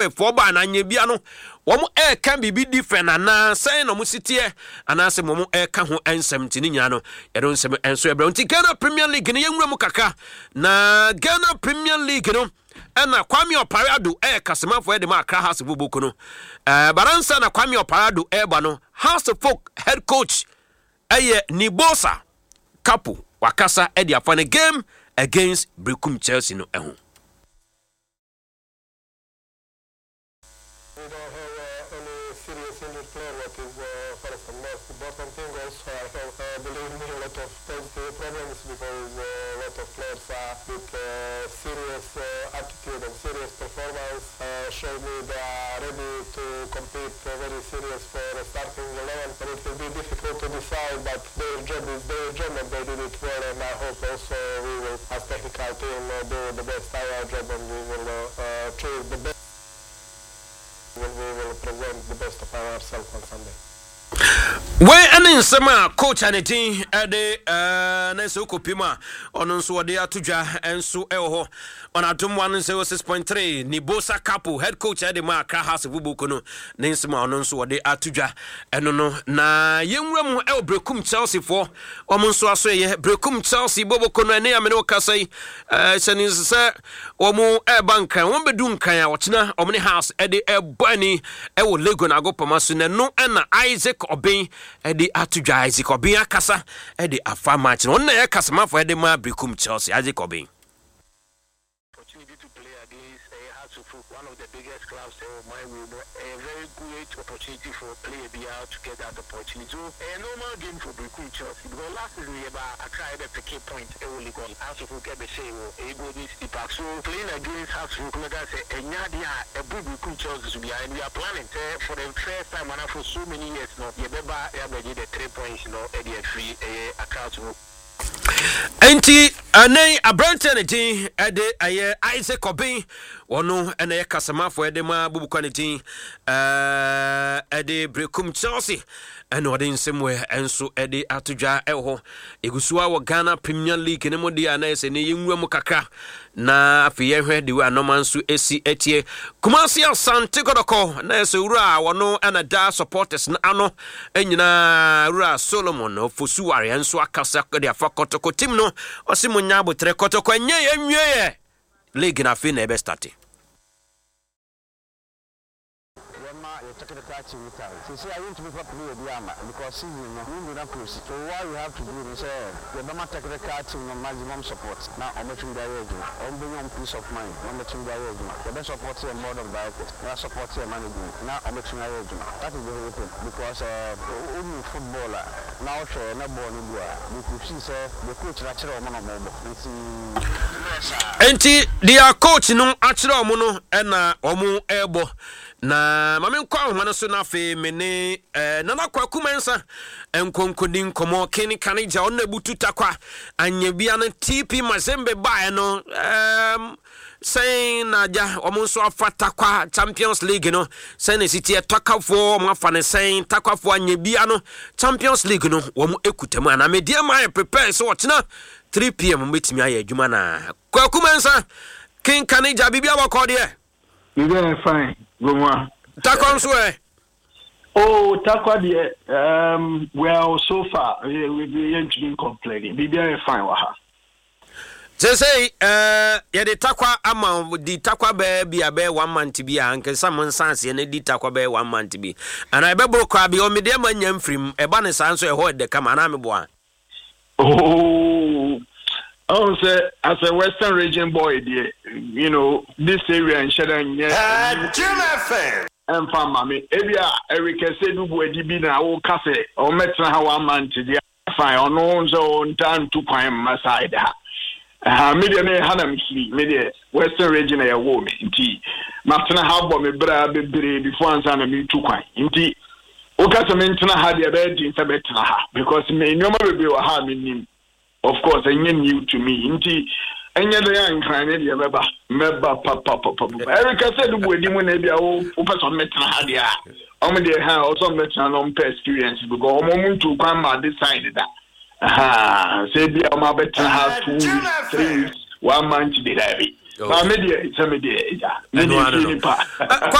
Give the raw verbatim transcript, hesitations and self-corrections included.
Foɔ ba na anya bia no, wɔn ɛreka biribi different anaa sɛn na wɔn si teɛ, anaasɛ wɔn ɛreka ho nsɛm? Nti ne nyinaa no, yɛde nsɛm nso ɛbrɛ. Nti Ghana Premier League no, yɛnwura mu kakra. Na Ghana Premier League no, ɛna Kwame Opare Addo ɛyɛ kasamafoɔ ɛde ma Accra Hearts Boboko no. ɛɛ baransa na Kwame Opare Addo ɛreba no, Hearts Folk head coach ɛyɛ Nibosa Kapo, wakasa ɛde afa ne game against Brekum Chelsea no ɛho. We don't have uh, any serious injured player, what is uh, first and most important thing. Also, I have, uh, believe me, a lot of positive problems because uh, a lot of players are with uh, serious uh, attitude and serious performance. Uh, show me they are ready to compete uh, very serious for starting eleven. And it will be difficult to decide, but their job is their job and they did it well. And I hope also we will, as technical team, uh, do the best our job and we will uh, uh, choose the best when we will present the best of ourselves on Sunday. Wei ɛne nsɛm a coach a ne din ɛde ɛɛ na sɛ wokɔpi mu a, ɔno nso wɔde ato dwa nso ɛwɔ hɔ on Adom one oh six point three. Nibosa Capo, head coach ɛde ma Accra Hearts Boboko no, ne nsɛm a ɔno nso wɔde ato dwa ɛno no. Na yɛnwura mu ɛwɔ Brekum Chelsea foɔ, wɔn nso aso ɛyɛ Brekum Chelsea Boboko no. Ɛne amene wɔkasa yi, ɛɛ hyɛ ne nso sɛ wɔn ɛreba Nkran, wɔn bɛdu Nkran a wɔkyena wɔn ne Hearts ɛde ɛbɔ ani ɛwɔ Legon agopama so. Na ɛno ɛna Isaac Ɔben ɛde ato dwa. Isaac Ɔben akasa ɛde afa match no. Ɔno na ɛyɛ kasamafo ɛde ma Brekum Chelsea, Isaac Ɔben. Opportunity to play against uh, Hearts of Oak, one of the biggest clubs in my room. A very great opportunity for player B R to get that opportunity. So a normal game for Berekum Chelsea because last season we Accra ebe pick point ɛwɔ Legon, Hearts of Oak ebe hyɛ wɔ ɛyɛ Golden City Park. So playing against Hearts of Oak, like I say, ɛnya deɛ a ɛbu Berekum Chelsea so bia, and we are planning sɛ for the first time and for so many years no, yɛbɛba yɛabɛgye the three points no ɛde afiri ɛyɛ Accra Hearts of Oak. Nti ɛnɛ aberanteɛ ne din ɛde ɛyɛ Isaac Ɔben, ɔno ɛna ɛyɛ kasamafoɔ ɛde ma bubukwa ne din ɛɛ ɛde Brekum Chelsea, ɛna ɔde nsɛm wɔ ɛnso ɛde ato dwa ɛwɔ hɔ. Egu so a wɔ Ghana Premier League ne mu deɛ a, na ɛsɛ ne yɛnwura mu kakra na afei yɛhwɛ de wɔ anɔma nso esi etie. Kumasi Asante Kɔtɔkɔ, na ɛsɛ wura a wɔno ɛna da supporters no ano nyinaa, wura Solomon Ofosuware, nso akasa de afa Kɔtɔkɔ team no. Ɔsi mo nya abotrɛ, Kɔtɔkɔ ɛnyɛ yɛn nwie yɛ league na afei na ɛbɛ start. Yɛma yɛ technical team no time. Sisi a yɛntumi fa player bi ama because season no window na close, so what we have to do ne sɛ yɛbɛma technical team no maximum support na ɔmɛtumi de ayɛ adwuma. Ɔmo bɛnya ɔmo peace of mind na ɔmɛtumi de ayɛ adwuma. Yɛbɛ support yɛ board of directors na support yɛ management na ɔmɛtumi ayɛ adwuma. That is the whole thing because uh, football a na ɔhwɛ na ball no bi a, you could see sɛ the coach na kyerɛ ɔmo na ɔmo bɔ nti. Nti deɛ coach no akyerɛ ɔmo no ɛna ɔmo ɛrebɔ. Na maame nkɔ ahoma no so na afei me ne ɛɛ Nana Kwaku Mɛnsa nkonkoni nkɔmɔ kene kane gya. Ɔno na ebutu Takwa anya bia no T P Mazembe baeɛ no, ɛɛm sɛn na agya wɔn nso afa Takwa Champions League no? Sɛn na esi teɛ? Takwafoɔ wɔn afa ne sɛn? Takwafoɔ anya bia no Champions League no wɔn ekuta mu anaa? Media ma ayɛ prepare sɛ ɔkyena three p m bɛtumi ayɛ adwuma. Na Kwaku Mɛnsa kenkane gya, biribi abɔkɔ deɛ? Biribi ayɛ fine, Gomua. Takwa nso ɛ? Oh, Takwa deɛ, um, well, so far yɛntumi complain. Biribi ayɛ fine wɔ ha. Sɛsɛi uh, yɛde Takwa ama di Takwa bɛɛ bi a bɛyɛ one month bi a nkesa mo nsa aseɛ na di Takwa bɛyɛ one month bi anaa ɛbɛboro koraa bi. Ɔmedeɛ ma nya mfirim ɛba ne saa nso ɛhɔ ɛdɛ kama anaa meboa? Oh, ɔn sɛ as a Western Region boy deɛ, you know this area nhyɛ dɛ nyɛ ɛmfa mma me. Ebi a Eric Ɛsɛ dubu adi bi na woka sɛ ɔmɛtena ha one month deɛ, fine. Ɔno nso ɔnta ntu kwan mma side ha ha. Me deɛ, me ha na mefiri. Me deɛ, Western Region na yɛwɔ me, nti matena ha bɔ me bra bebree before ansa na metu kwan. Nti woka sɛ mentena ha deɛ, ɛbɛyɛ den sɛ bɛtena ha because me nneɛma bebree wɔ ha a menim. Of course, ɛnyɛ new to me, nti ɛnyɛ dɛ a Nkran ne deɛ mɛba mɛba papapapa. Ɛreka sɛ dubu adi mu na ebi a wopɛ sɛ ɔmmɛtena ha deɛ a, ɔmo deɛ ha ɔsɛ ɔmmɛtena na ɔmpɛ experience because ɔmo ɔmo ntu kwan ma de side da sɛ ebi a ɔmo abɛtena ha two weeks, three weeks, one month de, daabi. Maa me deɛ, sɛ me deɛ, ɛgya me deɛ fie nipa.